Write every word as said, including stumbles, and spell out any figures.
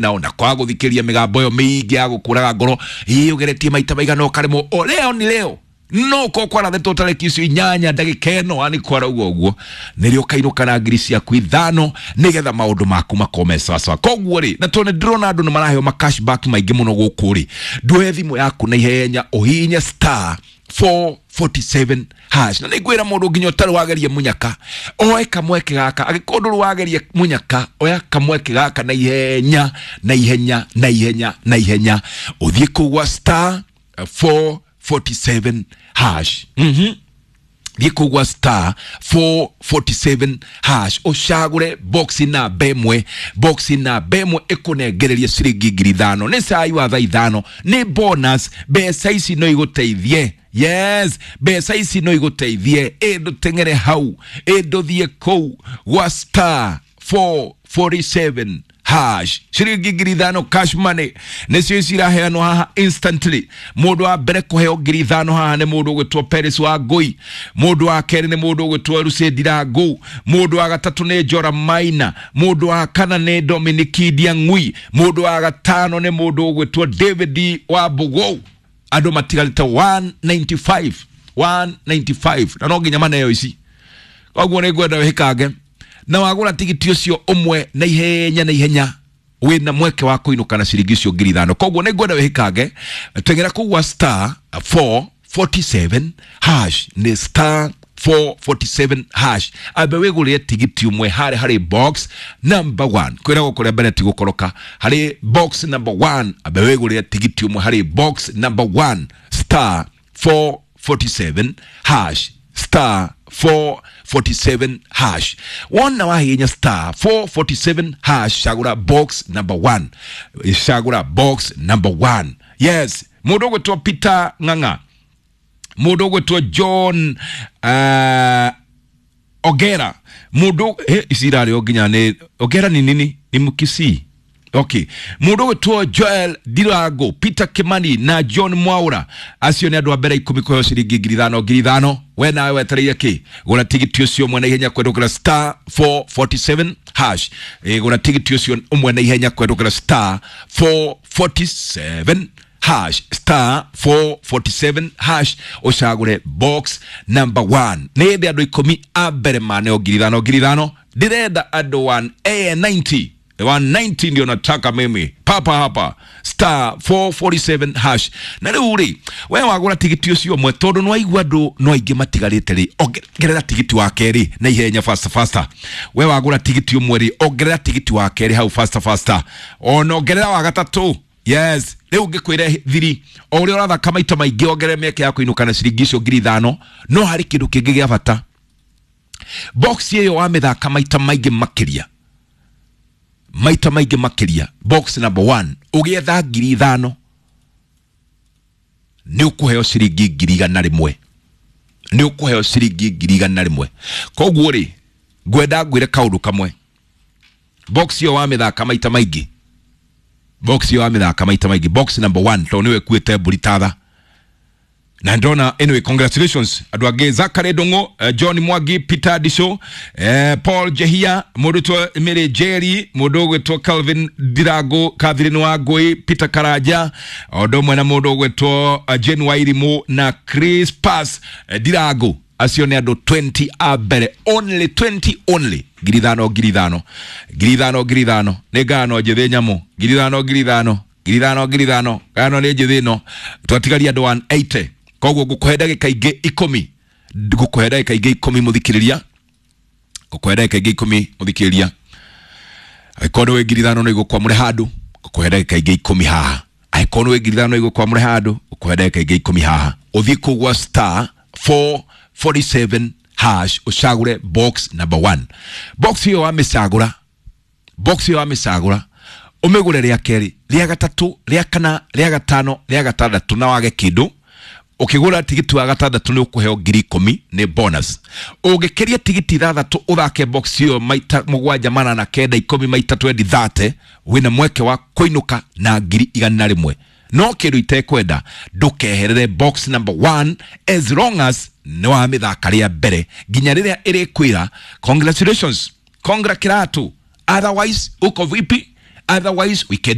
Nao na kwaga gũthikĩria mĩgambo ĩyo mĩingĩ ya gũkũraga ngoro, ĩ ũgeretie maita maigana ũkaremwo, o leo ni leo no ko kwarathetwo tarĩki icio inyanya ndagĩka ĩno ani kwarauga ũguo nĩrĩo ũkainũka na ngiri ciaku ithano nĩgetha maũndũ maku makorwo me sawasawa. Koguo rĩ, na tondũ nĩndĩrona andũ nĩ maraheo ma cashback maingĩ mũno gũkũ rĩ, nduoe thimũ yaku na ihenya ũhihinye star four forty-seven hash. Na nĩngwĩra mũndũ nginya ũtarĩ wageria mũnyaka oe kamweke gaka, angĩkorwo ndũrĩ wageria mũnyaka oya kamweke gaka na ihenya na ihenya na ihenya na ihenya, ũthiĩ kũu gwa star four forty-seven hash. Mhm. Thiĩ kũu gwa star four forty-seven hash ũcagũre box namba ĩmwe, box namba ĩmwe ĩkũnengererie ciringi ngiri ithano. Nĩ cai wa thaa ithano, nĩ bonus, mbeca ici no igũteithie. Yes, mbeca ici no igũteithie. Ĩ ndũteng'ere hau, ĩ ndũthiĩ kũu gwa star four forty-seven hash. Ciringi ngiri ithano cash money nĩcio ici iraheanwo haha instantly. Mũndũ wa mbere kũheo ngiri ithano haha nĩ mũndũ ũgwĩtwo Peris wa Ngũi, mũndũ wa kerĩ nĩ mũndũ ũgwĩtwo Lucy Ndirangu, mũndũ wa gatatũ nĩ Njora Maina, mũndũ wa kana nĩ Dominic Ndiang'ui, mũndũ wa gatano nĩ mũndũ ũgwĩtwo David wa Mbũgũ. Andũ matigarĩte one ninety-five, one ninety-five, na no nginya maneo ici. Koguo nĩ ngwenda wĩkange na wagũra tigiti ũcio ũmwe na ihenya na ihenya wĩna mweke wa kũinũka na ciringi icio ngiri ithano. Koguo nĩ ngwenda wĩkange, teng'era kũu gwa star four forty-seven hash, nĩ star four forty-seven hash, ambe wĩgũrĩre tigiti ũmwe harĩ harĩ box number one. Kwĩragwo kũrĩa mbere ti gũkoroka, harĩ box number one, ambe wĩgũrĩre tigiti ũmwe harĩ box number one, star four forty-seven hash, star four forty-seven hash. Wona wahihinya star four forty-seven hash, cagũra box number one, cagũra box number one. Yes, mũndũ ũgwĩtwo Peter Ng'ang'a, mũndũ ũgwĩtwo John, uh, Ogera, mũndũ, he, ici irarĩ o nginya nĩ Ogera ni nini? Ni Mkisii. Okay. Mũndũ ũgwĩtwo Joel Ndirango, Peter Kimani na John Mwaura, acio nĩ andũ a mbere ikũmi kũheo ciringi ngiri ithano ngiri ithano. We nawe wetereire kĩ? Gũra tigiti ũcio ũmwe na ihenya kũhetũkĩra star four forty-seven hash. Ĩ, gũra tigiti ũcio ũmwe na ihenya kũhetũkĩra star four forty-seven hash, star four forty-seven hash, ũcagũre box number one. Nĩ hĩndĩ andũ ikũmi a mbere maneo ngiri ithano ngiri ithano. Ndĩrenda andũ one A ninety. one ninety ndio nataka mimi papa hapa, star four forty-seven hash. Na rĩu rĩ, we wagũra tigiti ũcio ũmwe, tondũ nĩwaigua andũ no aingĩ matigarĩte rĩ, ongerera tigiti wa kerĩ na ihenya faster faster. We wagũra tigiti ũmwe rĩ, ongerera tigiti wa kerĩ hau faster faster, ona ongerera wa gatatũ. Yes, rĩu ngĩkwĩre thiri, o ũrĩa ũrathaka maita maingĩ ongerera mĩeke ya kũinũka na ciringi icio ngiri ithano. No harĩ kĩndũ kĩngĩ gĩa bata, box ĩyo wamĩthaka maita maingĩ makĩria, maita maingĩ makĩria, box number one ũgĩetha ngiri ithano nĩ ũkũheo ciringi ngiri igana rĩmwe, nĩ ũkũheo ciringi ngiri igana rĩmwe. Koguo rĩ, ngwenda ngwĩre kaũndũ kamwe, box ĩyo wamĩthaka maita maingĩ, box ĩyo wamĩthaka maita maingĩ, box number one, tondũ nĩwe ĩkuĩte mbũri tatha. Na ndona, anyway, congratulations andũ angĩ, Zachary Ndung'u, uh, John Mwangi, Peter Disho, eh, Paul Jehia, mũndũ ũgwĩtwo Mary Jerry, mũndũ ũgwĩtwo Calvin Ndirango, Catherine Wangui, Peter Karanja, o ũndũ ũmwe na mũndũ ũgwĩtwo, uh, Jane Wairimu na Chris Pass, eh, Ndirango. Acio nĩ andũ twenty a mbere, only twenty only, ngiri ithano ngiri ithano ngiri ithano ngiri ithano, nĩ ngano njĩthĩ nyamũ, ngiri ithano ngiri ithano ngiri ithano ngiri ithano, ngano nĩ njĩthĩ ĩno, twatigaria andũ one eighty. Koguo ngũkũhe ndagĩka ingĩ ikũmi, ngũkũhe ndagĩka ingĩ ikũmi mũthikĩrĩria, ngũkũhe ndagĩka ingĩ ikũmi mũthikĩrĩria. Angĩkorwo nĩ wĩ ngiri ithano no igũkwamũre handũ, ngũkũhe ndagĩka ingĩ ikũmi haha. Angĩkorwo nĩ wĩ ngiri ithano no igũkwamũre handũ, ngũkũhe ndagĩka ingĩ ikũmi haha. Ũthiĩ kũu gwa star four forty-seven hash ũcagũre box number one. Box ĩyo wamĩcagũra, box ĩyo wamĩcagũra, ũmĩgũre rĩa kerĩ, rĩa gatatũ, rĩa kana, rĩa gatano, rĩa gatandatũ, na wage kĩndũ. Ũkĩgũra tigiti wa gatandatũ nĩ ũkũheo ngiri ikũmi, nĩ bonus. Ũngĩkĩria tigiti ithathatũ ũthake box ĩyo maita mũgwanja manana kenda ikũmi maita twendi thate, wĩna mweke wa kũinũka na ngiri igana rĩmwe. No kĩndũ itekwenda, ndũkeherere box number one as long as nĩ wamĩthaka rĩa mbere nginya rĩrĩa ĩrĩkwĩra congratulations, congra kiratu, otherwise uko vipi? Otherwise weekend.